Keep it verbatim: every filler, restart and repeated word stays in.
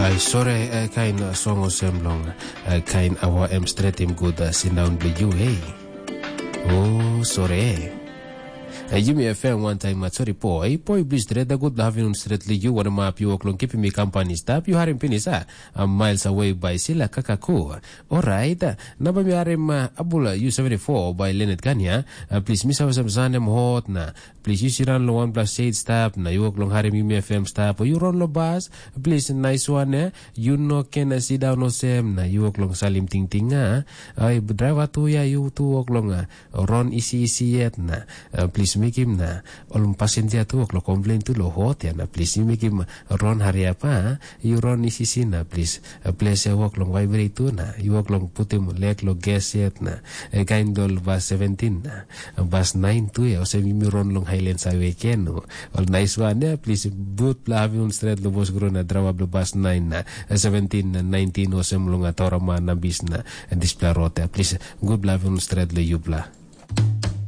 Ai sore, eh, kain, eh, song olsem long, eh, kain awa em stretim gut, eh, sindaun bilong yu, hei. O, sore. Eh, Yumi F M wantaim, ah, sori po, eh, po i bli stret, a gut having un stret li yu, wanamap yu wok long kipim mi kampani stap, yu harim pinis, ah, a miles away by sila kakaku. Orait, ah, na ba mi harim, ah, abula yu seventy-four by Leonard Kanya, ah, plis mi save sem sanem hot na, plis yu siran long wanpela seit stap, na yu wok long harim Yumi F M stap, o yu ron long bas, plis nais wan, eh, yu no ken, eh, sindaun olsem, na yu wok long salim tingting, ah, ai, draiva tu ya, yu tu wok long, ah, ron isi isi yet, na, ah, plis mekim na, ol pasenja tu wok long komplen tu long hot ya, na plis yu mekim ron hariap, ah, yu ron isi isi na, plis, ah, ples ya wok long vibrate tu, na, yu wok long putim lek long ges yet, na, eh, kain dol bas seventeen, na, bas nine tu ya, olsem yumi ron long Highlands Highway ken, no? Ol nais wan ya, plis, but bla having un stret long bos gro na drama bla bas nine na, eh, seventeen na nineteen olsem long Atorama na bis na, eh, dispela rot ya, plis, gut bla having un stret long yupla.